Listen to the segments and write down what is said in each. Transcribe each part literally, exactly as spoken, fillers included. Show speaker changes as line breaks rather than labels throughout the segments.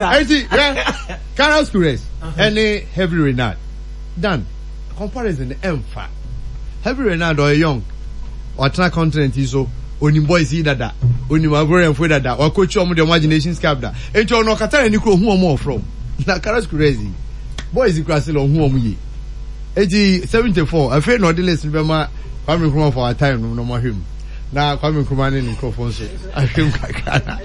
Eti hwɛ, Carlos Queiroz ɛne Hervé Renard dan comparison ɛnfa. Hervé Renard ɔyɛ young, ɔtena continent yi so, onim boys yi dada, onim Ivorianfo dada, wakɔkyi ɔmo deɛ ɔmo agye Nations Cup da. Eti ɔno ɔkata n'ani kuro ohun ɔmo ɔfrɔ. Na Carlos Queiroz yi, boys yi kura se la ohun ɔmo yie. Eti seventy four afei na ɔde list no bɛma Kwame Nkrumah for our time no na ɔmo ahwɛ mu. Na Kwame Nkrumah ne ne nkurɔfoɔ nso ahwɛ mu kakra na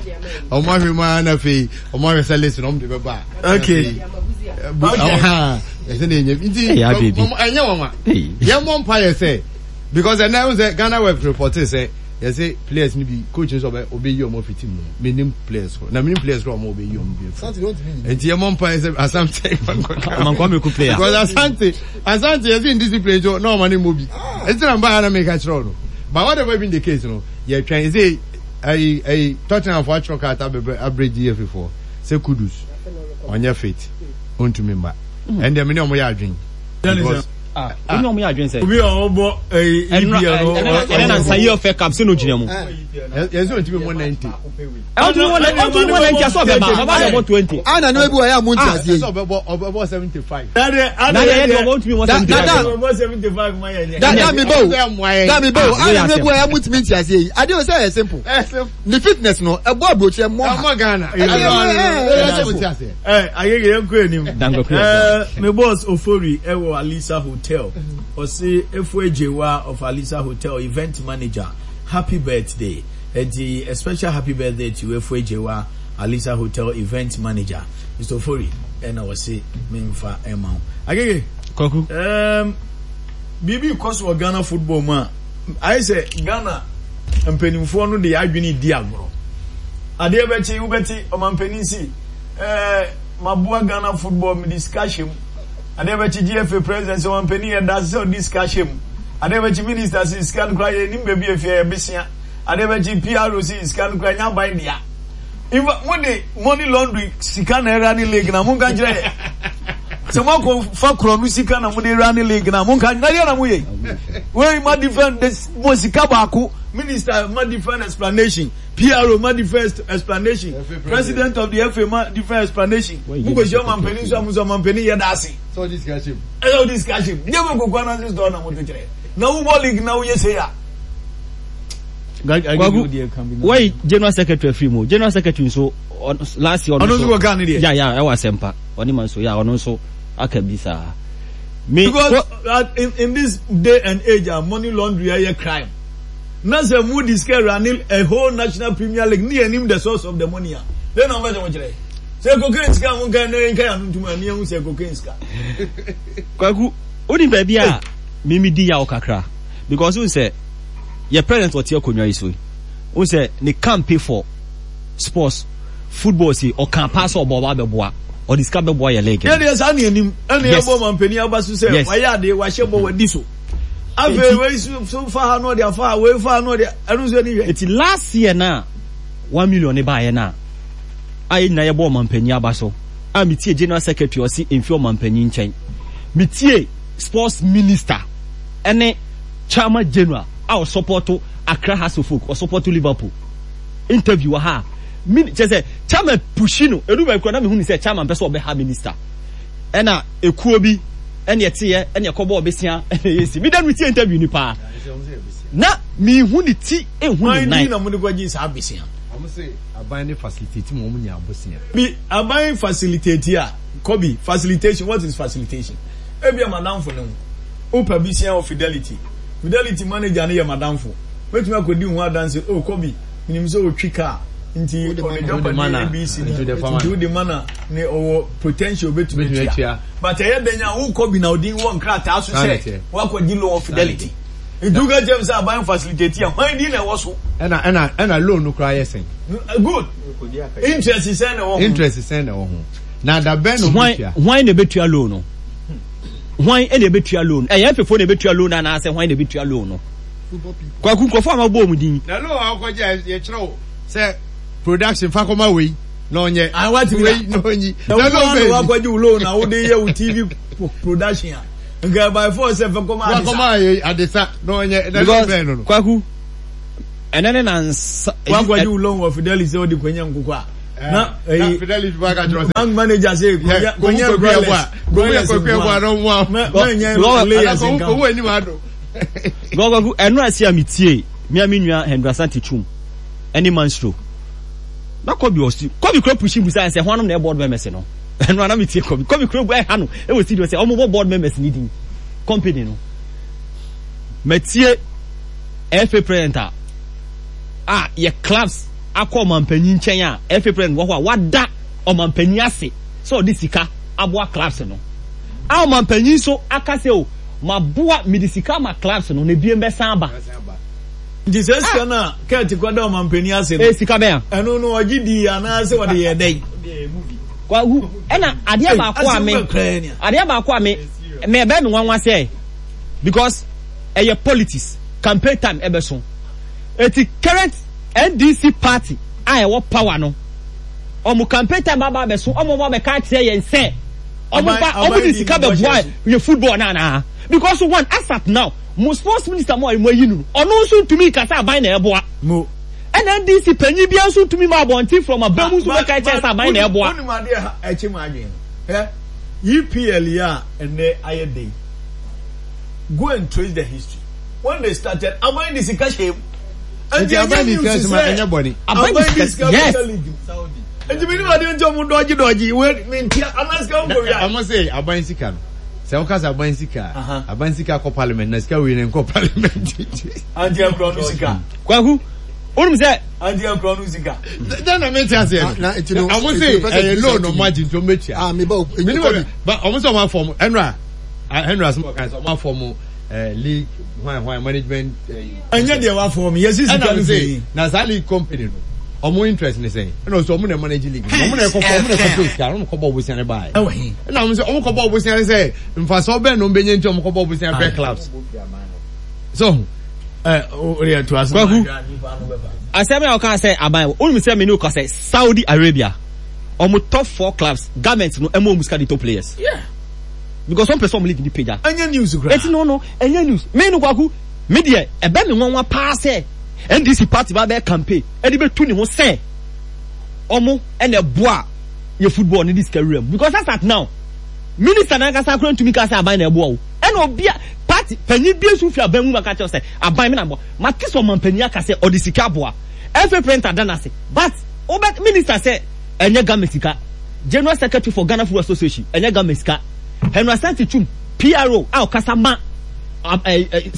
ɔmo ahwɛ mu ara na afei ɔmo ahwɛ sɛ list no ɔmo de bɛba a.
Okay.
Okay. Ɛsɛ na enye nti ɛnyɛ wɔn a yɛn mɔ mpa yɛ sɛ because ɛnna ɛho sɛ Ghana web report sɛ yɛsɛ players ni bi coach nso ɔbɛ ɔbɛyi ɔmo fi team no mu menim players kɔ na menim players kɔ ɔmo ɔbɛyi ɔmo bi efi nti yɛn mɔ mpa yɛ sɛ Asante
Kwame ku player
because Asante Asante yɛsɛ indiscipline so na ɔmo ne mo bi eti na mba yɛ na meka kyerɛ ɔno but whatever been the case no yɛ twɛn ɛsɛ ɛyi ɛyi Tottenham fo atwerɛ krataa bebree abere G F A foɔ sɛ Kudus ɔnyɛ fit, ɔntumi mba. Ɛndeɛ me ne ɔmo yɛ adwene because
ah, wone ɔmo yɛ adwene sɛ
obi a ɔbɔ ɛyi E P L no.
Ɛnɛ na nsa yi F A Cup sɛ no gyina mu.
Yɛsɛ ɔntumi mmɔ ninety.
Ɔntumi wɔ ɔntumi wɔ ninety asɔ ɔbɛba ɔba bɛ bɔ twenty.
Ana ne bi wɔ yɛ a mo nti aseɛ yi.
Ɛsɛ ɔbɛbɔ ɔbɛbɔ seventy five.
Na yɛ yɛ ɔbɔ ntumi wɔ seventy
Da-
five.
da-
Ɔbɔ seventy five ma yɛ nyɛ.
Da da mi bɔ o, da mi bɔ o.
Ah,
Ana ne bi wɔ yɛ a mo ntumi nti aseɛ yi adeɛ o sɛ ɛyɛ simple.
Ɛsɛ
Ne fitness no ɛbɔ aburokyerɛ mɔ ha.
ɛmɔ Ghana.
Ɛyɛ- ɛyɛ- ɛyɛ
Ɛsɛ
simple.
ti aseɛ.
Ɛ ayege yɛn kɔ anim.
Dango kura.
Ɛɛ me boss Ofori ɛwɔ Alisa Hotel, ɔsi Efo Ejewa of Alisa Hotel, event manager, happy birthday. Eti a special happy birthday to Efo Ejewa, Alisa Hotel event manager, Mister Ofori, ɛna ɔsi mi nfa ɛma wo. Agege.
Kwaku.
Um, biribi kɔ so wɔ Ghana football mu a ayɛ sɛ Ghana mpanimfoɔ no de adwene di agorɔ. Adeɛ bɛkye wobɛte ɔmampanin si ɛɛ maboa Ghana football, mede sika hyɛ mu. Adeɛ bɛkye G F A president sɛ ɔmampanin yɛ da sɛ ɔde sika hyɛ mu. Adeɛ bɛkye minister si sika no koraa yɛ nim baabi efie yɛ besia. Adeɛ bɛkye P R O si sika no koraa nya aban dea. In fact, mo de money laundry sika na ɛra ne league na mo nka kyerɛ yɛ sɛ mo akɔ fa korɔ no sika na mo de ra ne league na mo nka na yɛ na mo yɛ wei ma different de mo sika baako. Minister ma different explanation, P R O ma different explanation, president of the F A ma different explanation. Mo kò ṣe ọmọ mpanin nso a mo sọ ọmọ mpanin yɛ daase.
Sɛ ɔde sika hyɛ mu.
Ɛsɛ ɔde sika hyɛ mu nyɛ bɛ koko anase store na mo to kyerɛ na wobɔ league na woyɛ se ya.
Kwaku, wɔyi general secretary afiri mu. General secretary nso ɔno- last year.
Ɔno nso wɔ Ghana deɛ.
Ya ya ɛwɔ asɛmpa ɔne ma nso ya ɔno nso aka bi saa me.
Because uh, in, in this day and age, uh, money laundry ɛyɛ crime na sɛ mo di sika running a whole national premier league ne yɛn nim the source of the money a then na wɔn bɛ sɛ wɔn kyerɛ sɛ cocaine sika mo nka ne nka yɛn ntoma ne yɛn ho sɛ cocaine sika.
Kwaku, woni baabi a mimi di yaw kakra because n sɛ yɛ president ɔte akonnwa yi so yi, n sɛ ne campaign for sports football si ɔka paa sɛ ɔbɔ ɔba bɛboa, ɔde sika bɛboa yɛ league.
Yɛ deɛ saa ne anim ɛna
Yes.
yɛ bɔ mampanin aba so sɛ
Yes.
wayɛ adeɛ, wahyɛ bɔ, wadi so. Afei wei so so fa ha na ɔde afa ha, wei fa ha na ɔde ɛno nso ani hwɛ.
Eti last year na one million ne baayɛ na a yɛ nyinaa yɛbɔ ɔmampanyin aba so a metie general secretary ɔsi mfi ɔmampanyin nkyɛn, metie sports minister ɛne chairman general a ɔsupport Accra Hearts of Oak, ɔsupport Liverpool interview wɔ ha a min kyerɛ sɛ chairman pushi no edu baabi kora na mehu ne sɛ chairman pɛ sɛ ɔbɛha minister ɛna ekuo bi ɛne ɛteɛ ɛne ɛkɔbɔ ɔbɛsia ɛna ɛyɛ si mi dan mi tie interview ni paa na mihu ne ti ehu ne
Wɔn di
nan.
Na mo de kɔ gye saa besia.
Ɔmo sɛ aban ne facilitate mu ɔmo nya abosia.
Bi aban facilitate a kɔbi facilitation, what is facilitation? Ebi a madamfo ne ho wopɛ bisia wɔ Fidelity, Fidelity manager ne yɛ madamfo, mɛtumi akɔdi ho adanse o kɔbi minim sɛ otwi car nti
Wode
ɔne
ma
Wode ma
dwapade
na.
A B C ni
Nti wode fa ma
nti
no.
wode ma na ne ɔwɔ potential obetumi
Obetumi
atua
atua.
but ɛyɛ dɛn a wokɔ bi na odin wɔ nkrataa so
Saa na
sɛ
ɛteɛ.
wakɔgye loan wɔ Fidelity nti woka kyerɛ m sɛ aban facilitate a hwan din na ɛwɔ so?
Ɛna ɛna ɛna loan no koraa yɛ sɛn?
Good interest sɛn na ɛwɔ ho?
Interest sɛn na ɛwɔ ho? Na da bɛn na ɔmo
hwan
tua?
Hwan na ebetua loan no? Hwan na ebetua loan? Ɛyɛ F A na ebetua loan anaasɛ hwan na ebetua loan no?
Football people.
Kwaku, nkurɔfoɔ a ma bɔ ɔmo din.
Na loan a ɔkɔgye a yɛkyerɛ wo sɛ production fa kɔma wei na ɔnyɛ
Ah, watumi
wei na ɔnyi
na
na
wo
loan
na
bɛn
wakɔgye wo loan na wode yɛ wo T V production a nka by force sɛ fɛ kɔma Adesa.
Wakɔma yɛ Adesa na ɔnyɛ na loan
because
bɛn no no
Kwaku, ɛnɛ ne nansa.
Wakɔgye wo loan wɔ Fidelity sɛ wode kɔnya nkokɔ a Na ɛyi bank manager sɛ kɔnyɛ broilers broilers nkoa mɛ layers nka.
Gɔgɔgu ɛnu ase a mi tie mi a mi nua Henry Asante Twum ɛne Mansro na Kɔbi ɔsi Kɔbi kura pushi busa ɛsɛ hɔnom na ɛ board members no ɛnu ana mi tie Kɔbi Kɔbi kura bu ɛha no ɛwɔ studio sɛ ɔmo bɔ board members ni din company no mɛ tie F A president a a yɛ clubs akɔ ɔmampanyin nkyɛn a F A president wɔ hɔ a wada ɔmampanyin ase sɛ ɔde sika aboa clubs no a ɔmampanyin so aka sɛ o maboa mede sika ma clubs no na ebien bɛsan aba.
Nti sɛ sika no a kɛɛte kɔda ɔmampanyin ase no
ee sika bɛn
a ɛno no ɔgye di anaasɛ ɔde yɛ dɛn?
Kwahu ɛna adeɛ baako a me adeɛ baako a me me ɛbɛn me nwanwa sɛ because ɛyɛ politics campaign time ɛbɛso eti current N D C party a ɛwɔ power no ɔmo campaign time aba abɛso ɔmo ɔmo abɛka akyerɛ yɛn sɛ ɔmo ba ɔmo de sika bɛboa yɛ football na anaa because one as at now mo sports minister mo a mo ayi no ɔno nso ntumi kasa aban na ɛboa
mo
ɛna N D C panyin bi nso ntumi ma abɔnten from abɛn mu nso bɛka kyerɛ sɛ aban na ɛboa.
Wọ́n mu adeɛ ɛkyi mu adwene no E P L yi a ɛnɛ ayɛ den, go and trace the history when they started aban de sika hyɛ mu.
Nti aban de sika hyɛ mu ɛnyɛ bɔne.
Aban de sika
yes.
Nti mi ni wa de nti ɔmo dɔgye dɔgye we mi nti anasika ɔmo kɔ wia.
Ɔmo se aban sika no sɛ ɔka sɛ aban sika aban sika kɔ parliament na sika wei na nkɔ parliament.
Anti akura no sika.
Kwaku onum sɛ.
Anti akura no sika.
Dɛn na mi ti aseɛ no ɔmo se ɛyɛ loan ɔmo agye nti ɔmo bɛ tua.
Ah mi ba o
mi ni wɔ ba ɔmo sɛ ɔmo afɔm ɛnura ɛnura sɛ ɔmo kan sɛ ɔmo afɔm league hwan hwan management.
Ɛnyɛ deɛ wafɔm yɛ sisi sika no fi.
Na saa league company no ɔmo interest ne sɛn ɛna ɔsɛ ɔmo na manage league ɔmo na ɛkɔ fɔ ɔmo na ɛkɔ pay sika ɔmo kɔ bɔ ɔbosia ne baa yɛ ɛna ɔmo sɛ ɔmo kɔ bɔ ɔbosia ne sɛ nfasɔ bɛn na ɔmo bɛ nye nti ɔmo kɔ bɔ ɔbosia pɛ clubs so.
Ɛ o yɛ to ase.
Kwaku asɛm a ɔka sɛ aban wɔn sɛ mene ɔka sɛ Saudi Arabia ɔmo top four clubs government no ɛmo ɔmo sika de top players.
Yeah.
Because wɔn pɛ sɛ ɔmo league ni pagya.
Ɛnyɛ news kura.
Eti no no ɛnyɛ news me no Kwaku me deɛ ɛbɛ mi nwanwa paa sɛ N D C party ba bɛ campaign ɛde bɛ tu ne ho sɛ ɔmo ɛna ɛboa yɛ football ne de sika wura mu because as at now minister nankasa akora ntumi ka sɛ aban na ɛboa o ɛna obi a party panyin bi nso fi aban mu maka kyerɛ sɛ aban mi na boa mate sɛ ɔman panyin aka sɛ ɔde sika aboa F A president ada n'ase but ɔbɛ minister sɛ ɛnyɛ Ghana sika general secretary for Ghana Football Association ɛnyɛ Ghana sika Henry Asante Twum P R O a ɔkasa ma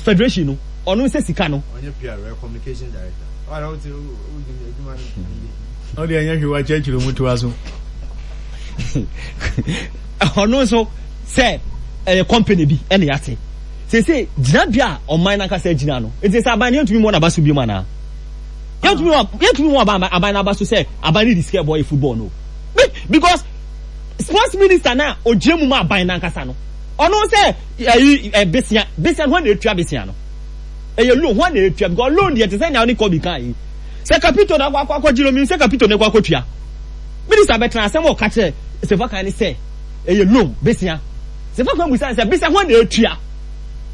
federation no ɔno sɛ sika no.
Ɔnyɛ P R O communication director.
Ɔde ɛnyɛ hwɛ wa kyerɛkyerɛ mu to aso.
Ɔno nso sɛ ɛyɛ company bi ɛna yate sese gyinabea a ɔman nankasa gyina no nti sɛ aban no yɛntumi mu ɔnaba so bi mu anaa yɛntumi yɛntumi mu aban aban n'aba so sɛ aban no de sika ɛbɔ yɛ football no because sports minister na ogyina mu ma aban nankasa no ɔno sɛ ɛyi ɛ besia besia no hɔn na etua besia no ɛyɛ loan hɔn na etua because loan deɛ te sɛ nea ɔne kɔbi kan yi sɛ kapito na akɔ akɔ akɔ gyina omi sɛ kapito na akɔ akɔ tua minister bɛtena asɛm a ɔka kyerɛ sefa kan ne sɛ ɛyɛ loan besia sefa kan busa sɛ besia hɔn na etua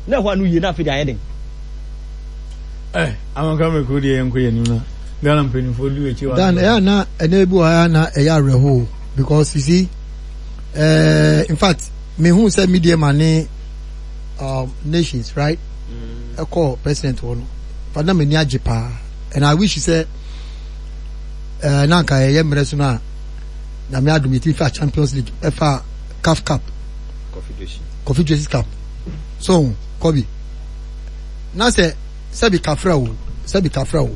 na ɛhɔ ano yie na afei de ayɛ den.
Ɛ amanka mi kuro deɛ yɛn kɔ yɛn nim na Ghana mpanyinfoɔ du akyi wa.
Dan ɛyɛ na ɛnɛ bi wɔ ha na ɛyɛ awerɛho because you see uh, in fact me hu sɛ media ma ne um, nations right ɛkɔ mm. president wɔ no fa na m'ani agye paa and I wish sɛ uh, na nka ɛyɛ mmerɛ so no a Nyame adom yɛtumi fa Champions League ɛfa CAF Cup Confederations Cup so kɔbi na sɛ sɛbi kafra o sɛbi kafra o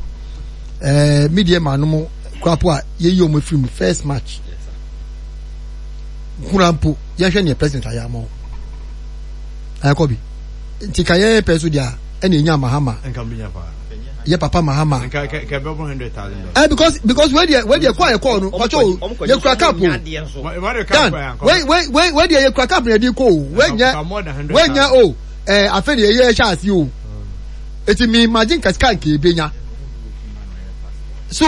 ɛɛ media ma no mo kurapo a yɛyi wɔn afiri mu first match nkura mpo yɛhwɛ neɛ president ayɛ ama wɔn ɛɛ kɔbi nti ka yɛn pɛ so deɛ ɛna enya Mahama yɛ papa Mahama ɛ because because wei deɛ wei deɛ kɔ a yɛ kɔɔ no pàtó o yɛ kura cup o dan wei wei wei wei deɛ yɛ kura cup na yɛ di kɔ o wei nyɛ wei nyɛ o ɛɛ afei deɛ yɛ ɛhyɛ ase o eti mi imagine kasika nke ebenya so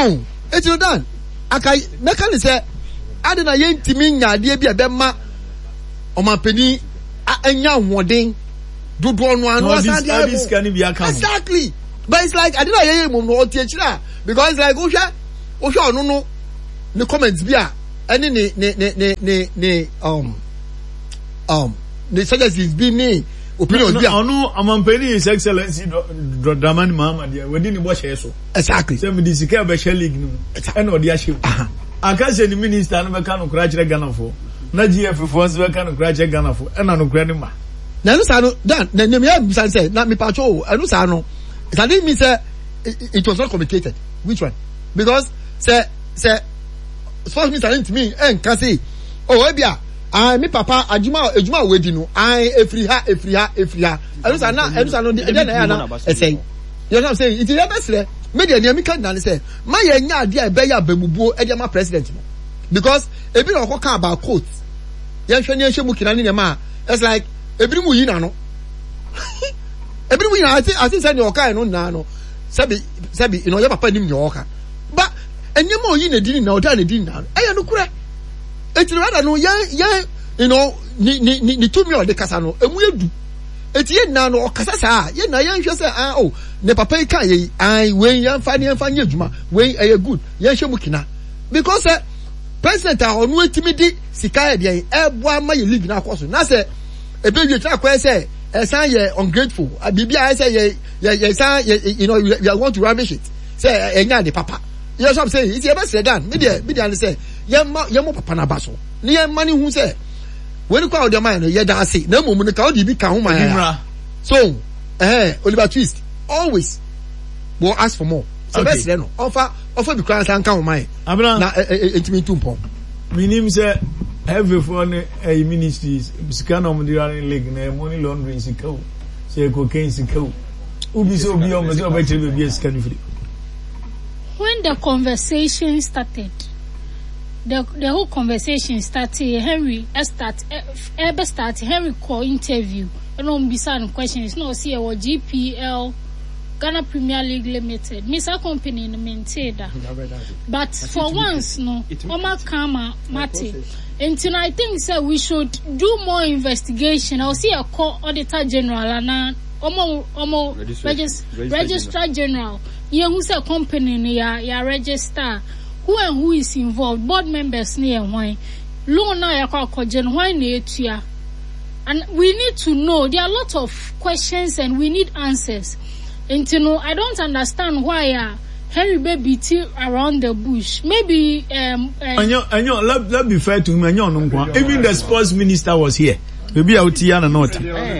eti no dan aka mɛka ne sɛ adi na yɛn ntumi nya adeɛ bi a ɛbɛma ɔmanpanin anya ahoɔden dodoɔ no ano asan de ayɛ mo exactly but it's like ade na yɛyɛ mu no ɔte akyire a because it's like wohwɛ wohwɛ ɔno no ne comment bi a ɛne ne ne ne ne ne ne um um ne suggestions bi ne opinions bi a.
Ɔno ɔmampanin His Excellency Dramani Mahama deɛ wadi ne bɔhyɛ so.
Exactly.
Sɛ mede sika ɛbɛhyɛ league no mu ɛna ɔde ahyɛ mu. Aka sɛ ne minister no bɛka nokorɛ akyerɛ Ghanafoɔ na G F foɔ nso bɛka nokorɛ akyerɛ Ghanafoɔ ɛna nokorɛ no ma.
Na ɛno saa no dan na nea meyɛ bisa sɛ na mepatwo o ɛno saa no it doesn't mean sɛ it was not communicated. Which one? Because sɛ sɛ sports minister ntumi ɛnka se oh ebia ayi mi papa adwuma adwuma a wadi no ayi efiri ha efiri ha efiri ha ɛno saa na ɛno saa no ɛdeɛ na ɛyɛ ana ɛsɛn. You know what I'm saying? Nti yɛ bɛsrɛ me deɛ nea mi ka nyinaa ne sɛ ma yɛ nya adeɛ a ɛbɛyɛ abamubuo ɛde ama president no because ebi na ɔkɔ ka about coat yɛn hwɛ ne yɛn hwɛ mu kina ne nneɛma a it's like ebi mu yi n'ano ebi mu yi n'ano ati ati sɛ nea ɔka yɛ no nyinaa no sɛbi sɛbi you know yɛ papa nim nea ɔka ba nneɛma a oyi n'adi ne nyinaa ɔda n'adi nyinaa no ɛyɛ no korɛ eti rather no yɛn yɛn you know ne ne ne ne tumi a ɔde kasa no emu yɛ du. Eti yɛn nyinaa no ɔkasa saa a, yɛn nyinaa yɛnhwɛ sɛ ah oh ne papa yi kaa yɛ yi ah wei yɛnfa ne yɛnfa nyɛ adwuma wei ɛyɛ good yɛnhyɛ mu kina because sɛ president a ɔno etimi de sika yɛ deɛ ɛboa ama yɛ league no akɔ so na sɛ ebe wie kyerɛ akɔyɛ sɛ ɛsan yɛ ungrateful biribi a ɛsɛ yɛ yɛ yɛ san yɛ you know we are want to rubbish it sɛ ɛnyɛ ade papa yɛ sɔ sɛ nti yɛbɛsrɛ dan me deɛ me deɛ ne sɛ yɛma yɛmɔ papa no aba so ne yɛma ne hu sɛ wei kɔ a ɔde ama yɛn no yɛda ase na mmom no ka ɔde bi ka ho ma yɛn so ɛhɛn Oliver Twist always will ask for more sɛ bɛ srɛ no ɔnfa ɔfa bi koraa nsa nka ho ma yɛn na ntumi ntu mpɔn.
Minim sɛ heavyfoɔ ne ɛyi ministries sika na wɔn de run league na money laundering sika o sɛ cocaine sika o obi sɛ obi a wɔn sɛ ɔbɛkyerɛ baabi a sika no firi.
When the conversation started, the the whole conversation started Henry start ɛbɛ start Henry kɔ interview ɛna wɔn bisa no questions na ɔsi ɛwɔ G P L, Ghana Premier League Limited. Me saa company no mente da, but for once no wɔn aka ama mate. Nti no I think sɛ we should do more investigation. Ɔsi ɛkɔ Auditor General ana ɔmo ɔmo regis Registrar General yɛn hu sɛ company no yɛ yɛ register, who and who is involved, board members no yɛ hwan, loan a yɛakɔ akɔgye no hwan na etua, and we need to know. There are a lot of questions and we need answers. Nti no I don't understand why a Henry bɛ beat around the bush. Maybe um, uh,
Ɛnyɛ ɛnyɛ let let be fair to him, ɛnyɛ ɔno nko. Even the sports minister was here. Ebi a oti ya na na ɔte.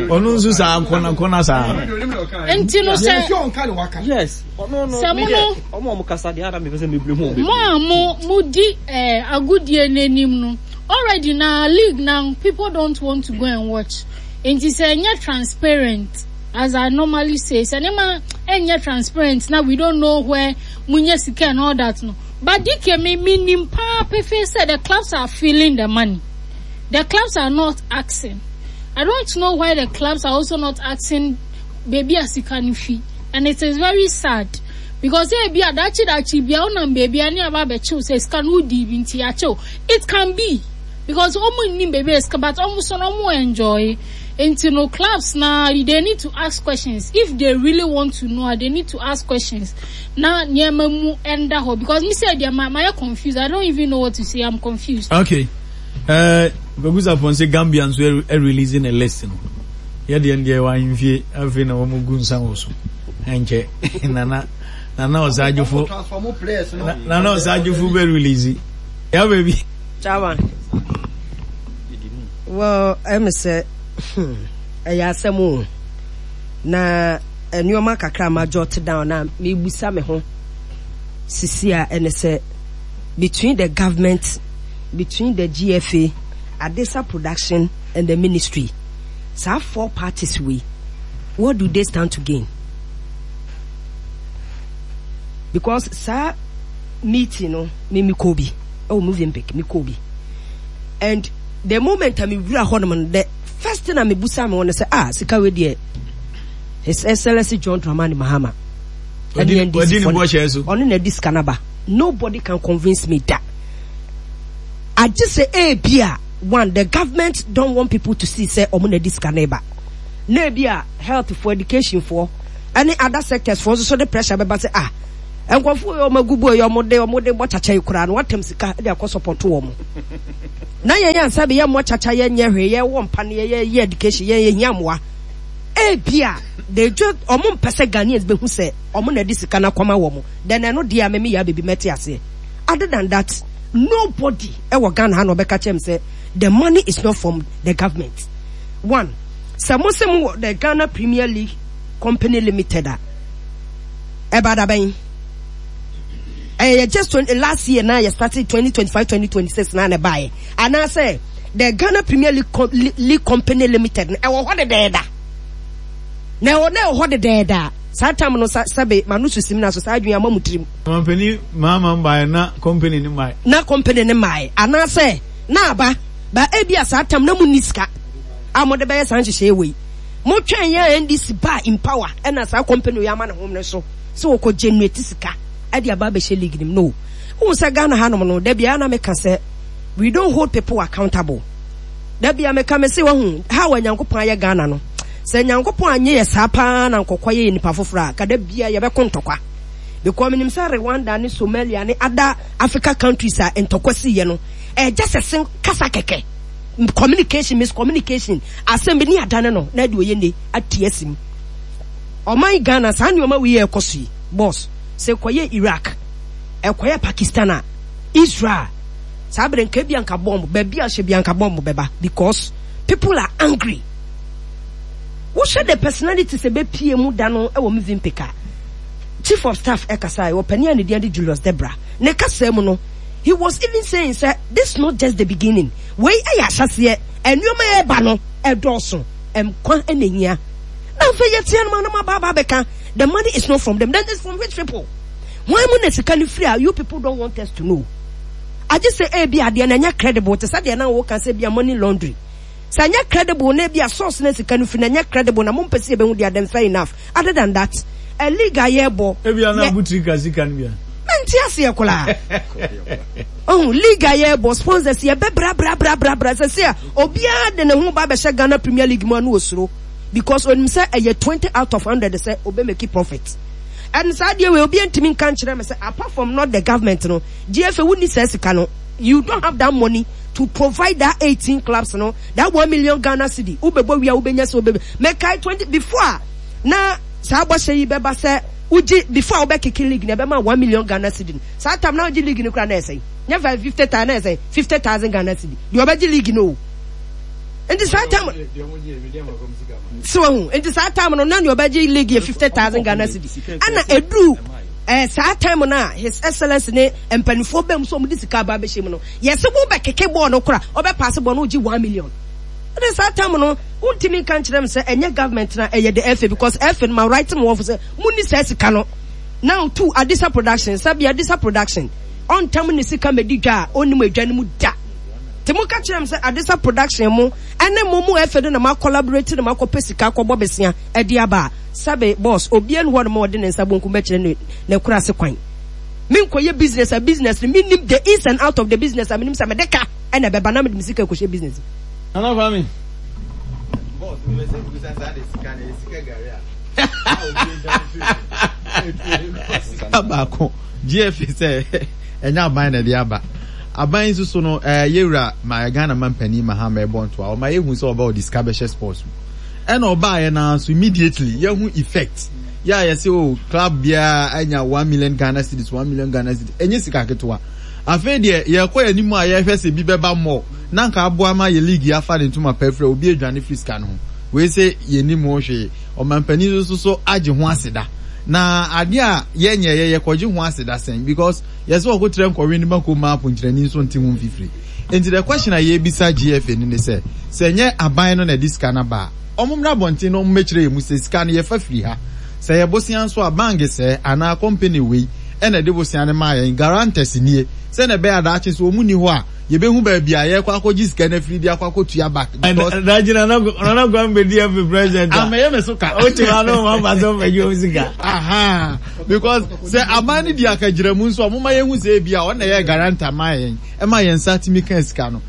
Ɔno nso saa kɔna kɔna saa.
Nti no sɛ
Yes, ɔno no
sɛ mo
me deɛ
no
ɔmo a ɔmo kasa deɛ ara mepɛ sɛ mebre mu
mo a mo mo di eh, agodie n'anim no already na league na people don't want to go and watch. Nti sɛ ɛnyɛ transparent, as I normally say, sɛ nneɛma ɛnyɛ transparent na we don't know where mo nye sika and all that no. But D K, me me nim paa pefe sɛ the clubs are feeling the money. The clubs are not asking. I don't know why the clubs are also not asking baabi a sika no fi, and it is very sad because ebi a dakye dakye bia wonam baabi a ne aba abɛkyew sɛ sika no wodi bi nti akyew. It can be because ɔmo nnim baabi a sika, but ɔmo so no ɔmo enjoy. Nti no clubs na they need to ask questions. If they really want to know, they need to ask questions na nneɛma mu ɛnda hɔ because me sɛ deɛ ma ma yɛ confused. I don't even know what to say. I'm confused.
Okay. Uh, Kwaku Sapon sɛ Gambia nso releasing a list no. Yɛ deɛ deɛ wɔ ahemfie afei na wɔn gu nsa wɔ so. Ɛnkyɛ nana nana ɔsagyefo nana ɔsagyefo bɛ release. Ya baby.
Chairman. Well, ɛmi sɛ ɛyɛ asɛm o, na nneɛma kakra ma jot down na mebusa me ho sisi a ɛne sɛ between the government, between the G F A, Adesa Production and the ministry, saa four parties wei, what do they stand to gain? Because saa meeting no, me me kɔ bi ɛwɔ Movenpick, me kɔ bi, and the moment a me wura hɔ nom no, the first thing a me busa me wɔn sɛ, ah, sika wei deɛ, His Excellency John Dramani Mahama ɛne N D C fo ɔno na ɛdi sika naba. Nobody can convince me that agye sɛ ebi a one, the government don't want people to see sɛ ɔmo na ɛdi sika naba, na ebi a health for education for ɛne other sectors for nso so de pressure bɛba sɛ, ah, Nkurɔfoɔ yi ɔmo agu bo yi ɔmo de ɔmo de bɔ kyakya yi koraa no watam sika de akɔ support wɔn. Na yɛn yɛn nsa bi yɛ mmɔ kyakya yɛn nyɛ hwee yɛ wɔ mpa ne yɛ yɛ education yɛn yɛ hia mmoa. Ebia they just ɔmo mpɛ sɛ Ghanaians bɛhu sɛ ɔmo na ɛde sika no akɔma wɔn. Then ɛno deɛ a mɛmi yɛ abɛbi mɛte aseɛ. Other than that, nobody ɛwɔ Ghana ha na ɔbɛka kyerɛ me sɛ the money is not from the government. One, sɛ mo sɛ mo wɔ the Ghana Premier League Company Limited a, ɛba da bɛn? Ɛyɛ just twenty, last year na yɛ started twenty twenty five twenty twenty six na na ɛbaeɛ. Anaasɛ the Ghana Premier League, Com League Company Limited no ɛwɔ hɔ dedaada. Na ɛwɔ na ɛwɔ hɔ dedaada. Saa tam no sa sɛbe ma no susim na so saa adwene ama mu tirim.
Mampanin maama mbaeɛ na company ne mmaeɛ.
Na company ne mmaeɛ anaasɛ na aba ba ebi a saa tam na mu nni sika a mode bɛyɛ saa nhyehyɛeɛ wei. Motwɛn yɛ a N D C baa in power ɛna saa company wei ama ne ho no so sɛ wɔkɔ generate sika ɛde aba abɛhyɛ league nim no. Wohu sɛ Ghana hanom no, da biara na meka sɛ we don't hold people accountable. Da biara meka me se wahu how a Nyankopɔn ayɛ Ghana no. Sɛ Nyankopɔn anyɛ yɛ saa paa na nkɔkɔ yɛ nipa foforɔ a, ka da biara yɛbɛko ntɔkwa. Because menim sɛ Rwanda ne Somalia ne other Africa countries a ntɔkwa siiɛ no, ɛgya sɛ sen kasa kɛkɛ. Communication, miscommunication, asɛm bi ne adane no na ɛde ɔyɛ ne ati asim. Ɔman Ghana saa nneɛma wei yɛ ɛkɔ so yi, boss, sɛ kɔyɛ Iraq, ɛkɔyɛ Pakistan a, Israel, saa bere nka bi anka bomb, baabi a hyɛ bi anka bomb bɛba because people are angry. Wohwɛ the personality sɛ bɛpie mu da no ɛwɔ Movenpick a, chief of staff ɛkasa ɛwɔ panin a ne din de Julius Debra. Ne kasa mu no, he was even saying sɛ this not just the beginning. Wei ɛyɛ ahyɛseɛ, nneɛma ɛreba no ɛdɔɔso, nkwa ɛna ehia. Na afei yɛteɛ no ma no ma ba aba abɛka the money is not from them, then it's from which people? Wɔn mu na sika no firi a you people don't want us to know. Agye sɛ ebi adeɛ na ɛnyɛ credible te sɛ deɛ na wɔka sɛ ebi a money laundry. Sɛ ɛnyɛ credible na ebi a source na sika no firi na ɛnyɛ credible na mo mpɛ sɛ yɛbɛhu deɛ, then fair enough. Other than that, a league a yɛbɔ.
Ebi a na abutiri ka sika no bia.
Mente aseɛ koraa. Oh, league a yɛbɔ sponsors yɛbɛ bra bra bra bra bra sɛ sɛ a obiara de ne ho ba bɛhyɛ Ghana Premier League mu ano osuro because onim sɛ ɛyɛ twenty out of hundred sɛ obe make profit. And saa deɛ wei obiara ntumi nka nkyerɛ me sɛ apart from not the government no, G F A wonni saa sika no. You don't have that money to provide that eighteen clubs no that one million Ghana cedi. Wobɛbɔ wia wobɛnya sɛ wobɛbɛ. Mɛkae twenty before a na saa bɔhyɛ yi bɛba sɛ wogye before a wobɛkeke league na ɛbɛma one million Ghana cedi no. Saa time na wogye league no koraa na ɛsɛn. Nyɛ five fifty thousand na ɛsɛn fifty thousand Ghana cedi. Deɛ ɔbɛgye league no o. Nti saa time sɛ wahu nti saa time no na nea ɔbɛgye league yɛ fifty thousand Ghana cedi. Ɛna eduru ɛɛ saa time no a His Excellence ne mpanimfoɔ bɛm so ɔmo de sika aba abɛhyɛ mu no, yɛsɛ wo bɛkeke bɔɔl no kora ɔbɛ paase bɔɔl no wogye one million. Ɛna saa time no wontumi nka nkyerɛ m sɛ ɛnyɛ government na ɛyɛ the F A because F A no ma write mo wɔfo sɛ munni saa sika no. Now two, Adisa Production, sɛbi Adisa Production ɔntam ne sika mɛdi dwa a ɔnnim adwa no mu da. Nti mo ka kyerɛ m sɛ Adisa Production mo ɛne mo mo F A no na mo collaborate na mo akɔpɛ sika akɔbɔ besia ɛde aba a, sɛbi boss obiara ni hɔ nom a ɔde ne nsa bonkum bɛkyerɛ ne ne kora ase kwan. Menkɔyɛ business a business no menim the ins and out of the business a menim sɛ mede ka ɛna ɛbɛba na mede me sika kɔhyɛ business.
Nana Kwame.
Boss, me sɛ busa saa de sika na sika gari a. Sika baako G F A sɛ ɛnyɛ aban na ɛde aba. Aban nso so no ɛɛ yɛwura ma Ghana man panin Mahama ɛbɔ ntoa ɔma yɛhu sɛ ɔba ɔde sika bɛhyɛ sports mu. Ɛna ɔbaayɛ naa so immediately yɛhu effect. Yɛ a yɛsɛ o club biara anya one million Ghana cedis, one million Ghana cedis, ɛnyɛ sika ketewa. Afei deɛ yɛkɔ yɛn anim a yɛhwɛ sɛ bi bɛba mmɔ na nka aboa ma yɛ league afa ne ntoma pɛfrɛ obi adwane firi sika no ho. Wei sɛ yɛnim ho hwee. Ɔmampanin nso so agye ho aseda. Na adeɛ a yɛnyɛ yɛ yɛkɔgye ho aseda sɛn because yɛsɛ ɔkotrɛ nkɔwe ne mako ma aponkyerɛni nso nte ho mfifiri. Nti the question a yɛbisa G F A ni ne sɛ sɛ nyɛ aban no na ɛde sika no aba a, ɔmo mmra abɔnten na ɔmo mmɛkyerɛ yɛn mu sɛ sika no yɛfa firi ha. Sɛ yɛ bosea nso a bank sɛ anaa company wei ɛna ɛde bosea no maa yɛn, guarantors nie sɛnɛ ɛbɛyɛ adaakye so ɔmo ni hɔ a yɛbɛhu baabi a yɛkɔ akɔgye sika no afiri de akɔ akɔtua back because
Daakye Nana Nana Kwame bɛdi F A president a.
Amɛyɛ me so ka.
O te hɔ no ma ba sɛ ɔmɛgye wɔn sika.
Aha, because sɛ aban no di akagyina mu nso a ɔmo ma yɛhu sɛ ebi a ɔna yɛ guarantor ma yɛn ɛma yɛn nsa tumi ka sika no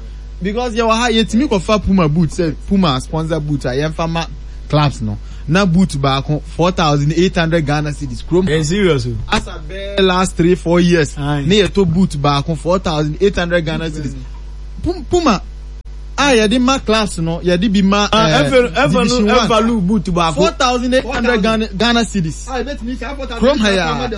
because yɛwɔ ha yɛtumi kɔfa Puma boot sɛ Puma sponsor boot a yɛmfa ma
clubs no na boot baako four thousand eight hundred Ghana cedis kurom.
Ɛ serious o.
Asa bɛɛ last three four years ne yɛ to boot baako four thousand eight hundred Ghana cedis. Puma a yɛde ma clubs no yɛde bi ma ɛɛ division one
ɛfalu boot baako
four thousand eight hundred Ghana Ghana cedis. Kurom ha yaa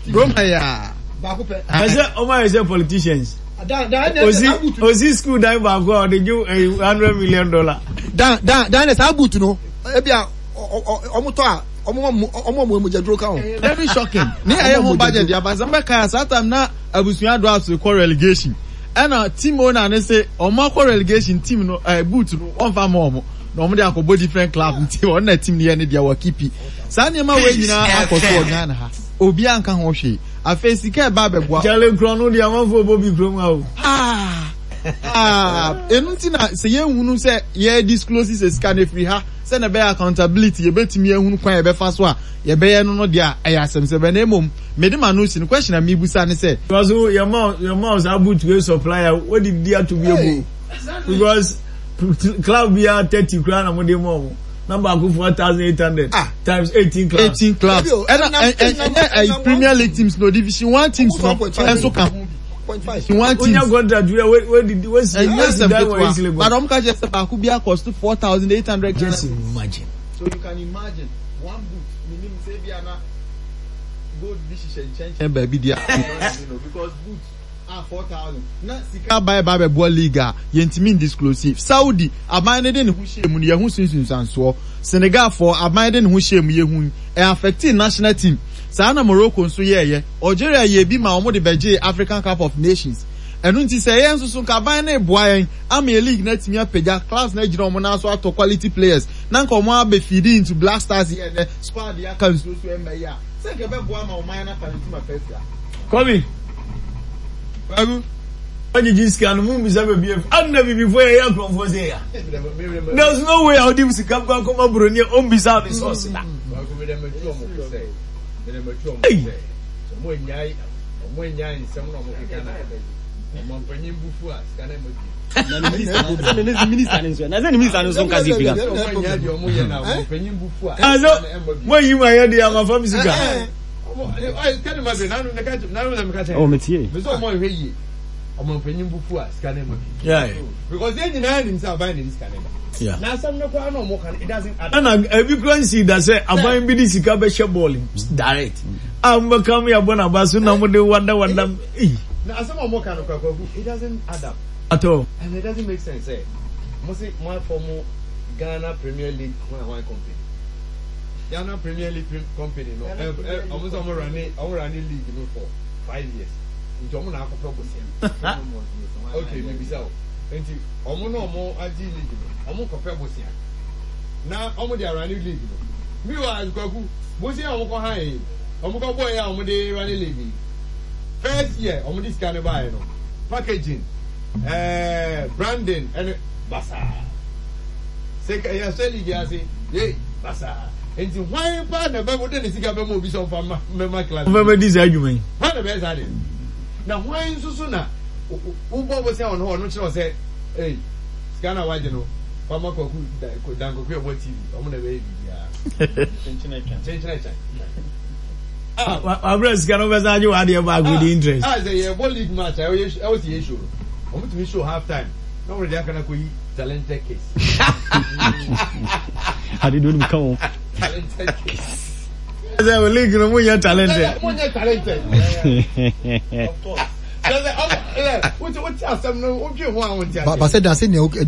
kurom ha yaa.
Ɛsɛ ɔmo ayɛ sɛ politicians. Osi osi school dan baako a ɔde gye hundred million dollar.
Dan dan dan na saa boot no ebi a ɔmo tɔ a ɔmo ɔmo ɔmo mogya duro ka ho.
Very shocking. Ne ɛyɛ ho budget yaba sɛ mbɛka ya saa time na abusua do aso kɔ relegation. Ɛna team owner ne se ɔmo akɔ relegation team no ɛɛ boot no ɔnfa ma ɔmo na ɔmo de akɔbɔ different club nti ɔno na team no yɛ ne deɛ wɔ kipi. Saa nneɛma wei nyinaa akɔ so wɔ Ghana ha. Obi anka ho hwee. Afei sika ɛba abɛboa.
Kyale nkura no deɛ amanfoɔ bɔ bi kurom ha o.
Ah ah ɛnu ti na sɛ yɛnhunu sɛ yɛ disclose sɛ sika no efiri ha sɛ na ɛbɛyɛ accountability yɛbɛtumi ehunu kwan yɛbɛfa so a yɛbɛyɛ no no deɛ a ɛyɛ asɛm sɛ bɛn na emom mede ma no si no question a mibusa ne sɛ.
Because yɛ ma yɛ ma saa boot wey supplier wɔde di ato bi egu because club bi a thirty kura na mo de ma ɔmo na baako four thousand eight hundred times eighteen clubs.
eighteen clubs ɛna ɛnyɛ ɛyɛ Premier League teams no division one teams no ɛnso ka ho division one teams.
Onya contract wey wey wey di wey si
ɛnyɛ sɛm ketewa but ɔmo ka kyerɛ sɛ baako bi akɔsto four thousand eight hundred.
Just imagine.
So you can imagine one boot minim sɛ ebi ana gold bi hyehyɛ nkyɛnkyɛn baabi di a because boot a four thousand na sika aban ba abɛboa league a yɛntumi ndisclose. Saudi aban ne de ne ho hyɛ mu no yɛho sunsunsansoɔ. Senegal foɔ aban de ne ho hyɛ mu yɛhu ɛ affecting national team. Saa na Morocco nso yɛɛyɛ. Algeria yɛ bi ma wɔn de bɛgye African Cup of Nations. Ɛno nti sɛ yɛn nso so nka aban ne boa yɛn ama yɛ league na atumi apagya clubs na agyina wɔn nan so atɔ quality players na nka wɔn abɛ feed into Black Stars yɛ nɛ squad yɛ aka nsuo so ɛmɛ yi a sɛ nka ɛbɛboa ma ɔman no afa ne ntoma fɛ fira.
Kobi.
Bagu.
Wajiji sika no mu mbisa baabi efi. Adna bibi fo yɛ yɛ akorɔmfoɔ sɛ ya. There's no way a wode sika kɔ akɔma buroni a ɔmbisa ne source da.
Bagu mi dɛ mɛ tu ɔmo sɛ mi dɛ mɛ tu ɔmo
Hey.
sɛ ɔmo enyae ɔmo enyae nsɛm na ɔmo keka na ɔmo mpanyin bufu a sika na ɛmɛ bi.
Na ne minister ne ne minister ne nso na sɛ ne minister ne nso nka si fika.
Ɔmo enyae deɛ ɔmo yɛ na ɔmo mpanyin bufu a
Aso
sika na ɛmɛ bi.
mo yi ma yɛ de ama fam sika.
Ɔmo ɛ kɛni ma bi nanu ne ka nanu na mi ka kyerɛ.
Oh metie.
Mi sɛ ɔmo nhwɛ yie ɔmo mpanyin bufu a sika na ɛmɛ bi.
Yeah.
Because yɛn nyinaa nim sɛ aban na ɛdi sika na ɛba.
Yeah.
Na asɛm no koraa na ɔmo ka no it doesn't add.
Ɛna ebi kura nsi da sɛ aban bi de sika bɛhyɛ bɔɔl mu direct. A mo bɛka mo yɛ bɔ n'aba so na mo de wada wada. Eyi.
Na asɛm a ɔmo ka no koraa kwaku it doesn't add up.
Atɔ.
And it doesn't make sense. Eh? Mo se mo afɔ Ghana Premier League one one company. Ghana Premier League prim- company no. Eh eh ɔmo sɛ ɔmo run ɔmo run league no for five years. Nti ɔmo na akɔpɛ bosia. Okay, maybe so. Nti ɔmo na ɔmo agye league no. Ɔmo kɔpɛ bosia. Na ɔmo de run league no. Meanwhile, kwaku bosia a ɔmo kɔ han yi. Ɔmo kɔ bɔ yi a ɔmo de run league yi. First year ɔmo de sika ne ba yi no. Packaging, eh, branding, ɛne basaa. Sɛ yɛsɛ league ase, yei basaa. Nti hwan pa na bɛ mo de ne sika bɛ mo obi sɛ ɔmfa ma mɛma class.
Mo bɛ di saa adwuma yi.
Hwan na bɛyɛ saa de? Na hwan nso so na wobɔ bɔ sɛ ɔno hɔ ɔno kyerɛ sɛ ei sika na wagye no fama kwaku dan kwaku ɛbɔ T V ɔmo na bɛyɛ biribiara. Kyenkyene kyɛn.
Wabere sika no bɛsa agye w'adeɛ baako di interest.
Ah sɛ yɛbɔ league match a ɛwɔ ɛwɔ si yɛ show no ɔmo tumi show half time na ɔmo de aka na kɔ yi talented case.
Ade do nim ka ho.
Talented case.
Sɛ o league no mo nyɛ talented.
Mo nyɛ talented. Of course. Sɛ ɔmo ɛ wote wote asɛm no wodwe ho a wonte
Ba
ase.
ba sɛ dan sɛ nea ɛ ɛ ɛ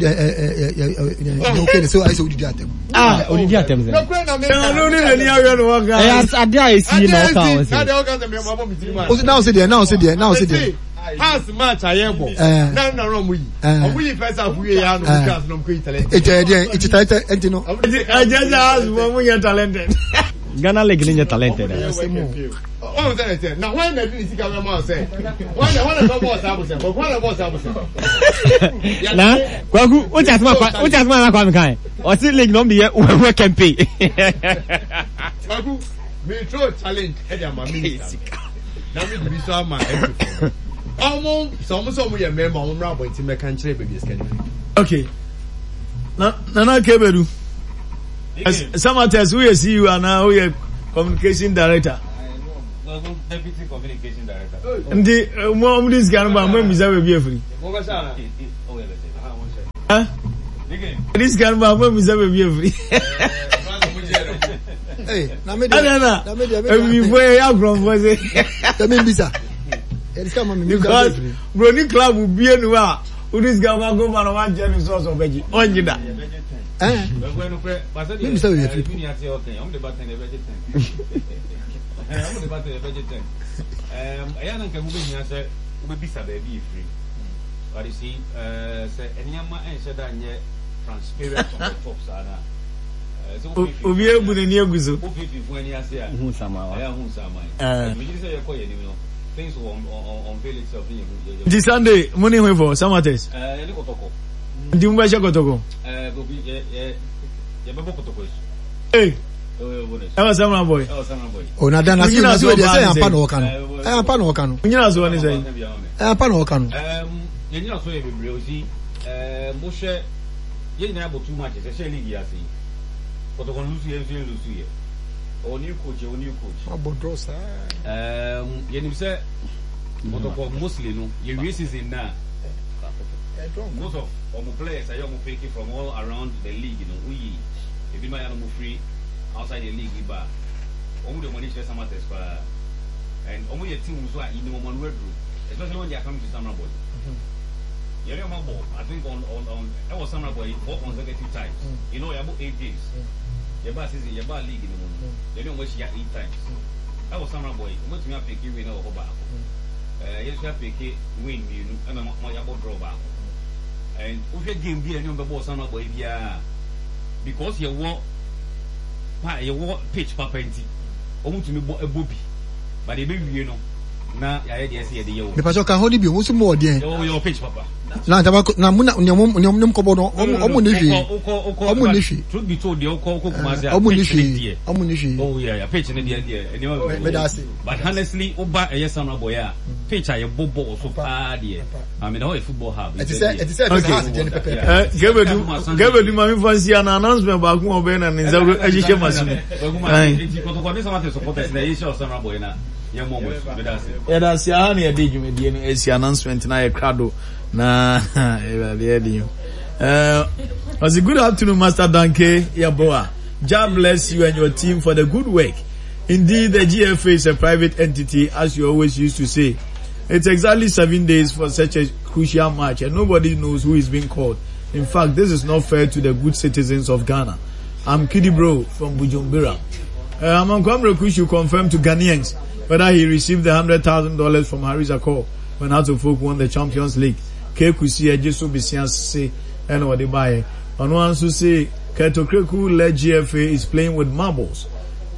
ɛ nea oke ne sɛ ayɛ sɛ odidi atɛm.
Ah, odidi atɛm sɛ.
Nɔkura na mi
Ɛna ɔno ne n'ani awɛ no wɔn ka.
Ɛyɛ ade a esi na ɔka ho
Na
sɛ.
deɛ ɔka sɛ mi ɔmo abɔ mi tiri mu a.
O na ɔsɛ deɛ na ɔsɛ deɛ na ɔsɛ deɛ.
House match a yɛ bɔ.
Eh.
Na na ɔmo yi.
Eh.
Ɔmo yi first half wie ya no ɔmo twa ase na ɔmo kɔ yi talented.
Eti ɛdeɛ eti talented ɛnti no.
Ɛjɛ sɛ house mo mo nyɛ talented.
Ghana league ne nyɛ talented.
Ɔmo sɛ ɛsɛ na hwan na di ne sika bɛ ma ɔsɛ hwan na hwan na bɛ bɔ ɔsɛ abosɛ hwan na bɔ ɔsɛ abosɛ.
Na kwaku o ti asoma kwa o ti asoma na kwa mi kan. Ɔsi league na ɔmo de yɛ wɛwɛ campaign.
Kwaku mi throw challenge ɛdi ama minister na mi di bi so ama ɛdi ɔmo sɛ ɔmo sɛ ɔmo yɛ mɛɛma ɔmo mmerɛ abɔnten mɛka nkyerɛ baabi esika ne fi.
Okay. Na Nana Kebedu. Samartex woyɛ C E O anaa woyɛ communication director?
Deputy communication director.
Nti mo ɔmo de sika no ba mo emisa baabi afiri. Ɛde sika no ba mo emisa baabi afiri. Ɛna na ebibifo yɛ yɛ akorɔmfo se.
Ɛmi mbisa.
Because broni club bie nu a wodi sika ma ko ma na wagyɛ ne sɔɔsɔ ɔbɛgye ɔngye da.
Mbisa baabi afiri.
Ɛyɛ na nka ho bɛhia sɛ wobɛbisa baabi ɛfiri, but you see, sɛ nneɛma ɛnhyɛ da nyɛ transparent on the top saa na
obi ebu n'ani agu so.
Wofififo ani ase a ɛyɛ ahu nsaman. Megye sɛ yɛkɔ yɛn anim no, things will unveil itself ne yɛhu.
Nti Sunday mo ne hwefo Samartex?
Yɛne Kɔtɔkɔ.
Nti mo bɛhyɛ Kɔtɔkɔ?
Yɛbɛbɔ Kɔtɔkɔ asu.
Ee. Ɛwɔ Samra boy.
O na dan ase na se deɛ sɛ yɛn ampa na ɔka no. Ɛyɛ ampa na ɔka no.
Nyina so ne sɛn?
Ɛyɛ ampa na ɔka no.
Yɛn nyina so yɛ bebree osi ɛɛ mo hwɛ yɛn nyinaa bɔ two matches ɛhyɛ league yi ase yi. Kɔtɔkɔ no lusu yɛn nso yɛn lusu yɛ. Ɔwɔ new coach, yɛwɔ new coach.
Wabɔ draw saa.
Ɛɛm yɛnim sɛ Kɔtɔkɔ mostly no yɛwie season na most of ɔmo players a yɛ ɔmo pick from all around the league no woyi ebinom a yɛ na ɔmo firi outside the league ba a wɔn de wɔn ani kyerɛ Samartex paa and wɔn yɛ team nso a yɛnim wɔn ano aduro, especially when they are coming to Samreboi. Yɛne wɔn abɔ, I think on on on ɛwɔ Samreboi four consecutive times, you know yɛabɔ eight games, yɛbaa season yɛbaa league no mu no yɛne wɔn ahyia eight times ɛwɔ Samreboi. Wɔn atumi apeke win ɛwɔ hɔ baako, ɛɛ yɛn nso apeke win mmienu ɛna wɔn yɛabɔ draw baako. And wohwɛ game bi a yɛne wɔn bɛbɔ wɔ Samreboi biara, because yɛwɔ pa yɛwɔ pitch papa nti wɔn tumi bɔ ɛbɔ bi, but yɛbɛwie no na yɛayɛ deɛ ɛsɛ yɛde yɛ wɔ.
Mepatɔ ka hɔ ni bi wɔn nso mu wɔ deɛ.
Yɛwɔ yɛwɔ pitch papa.
Na ntaba na mu na nea wɔn nea wɔn kɔbɔ no wɔn wɔn ni hwee. Wɔn ni hwee.
Truth be told deɛ wokɔ wokɔ Kumasi a
wɔn ni
pitch ne
hwee
deɛ.
Wɔn ni hwee.
Oh yeah yeah pitch ne deɛ deɛ nneɛma bebree.
Meda ase.
But honestly woba ɛyɛ Samreboi a pitch a yɛbɔ bɔɔl so paa deɛ. I mean ɛhɔ yɛ football hub.
Ɛte sɛ ɛte sɛ ɛte sɛ house deɛ ne pɛpɛɛpɛ.
Kɛbɛdu kɛbɛdu maame fa nsi ana announcement baako a ɔbɛyɛ na ne nsa ahyehyɛ ma so mu.
Nti Kɔtɔkɔ ne Samartex supporters na yɛhyɛ wɔ Samreboi na yɛmmɔ mo asu. Meda ase.
Yɛda ase. Aha na yɛde dwumadie no asi. Announcement na yɛ krado na Awurade yɛ den. Ɔsi good afternoon Master Danke Yeboah. God bless you and your team for the good work. Indeed, the G F A is a private entity, as you always used to say. It's exactly seven days for such a crucial match, and nobody knows who is being called. In fact, this is not fair to the good citizens of Ghana. I'm Kidi Bro from Bujumbura. Uh, Amankwa Mireku should confirm to Ghanaians whether he received the hundred thousand dollars from Harris Akor when Hearts of Oak won the Champions League. Kekusi Ejisu Bisian se, and what they buy. On one to say, Kurt Okraku led G F A is playing with marbles.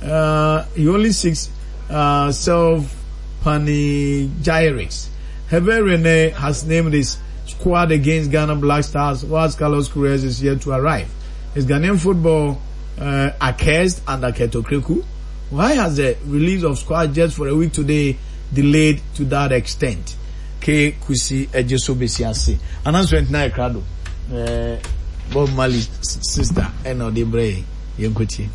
Uh, he only seeks, uh, self panegyrics. Hervé Renard has named his squad against Ghana Black Stars, whilst Carlos Queiroz is yet to arrive. Is Ghanaian football, uh, accursed under Kurt Okraku? Why has the release of squad just for a week today delayed to that extent? K Kusi Ejisu Besiase. Announcement na ekrado. Uh, Bob Marley's sister, Eno Debre, Yenkuti.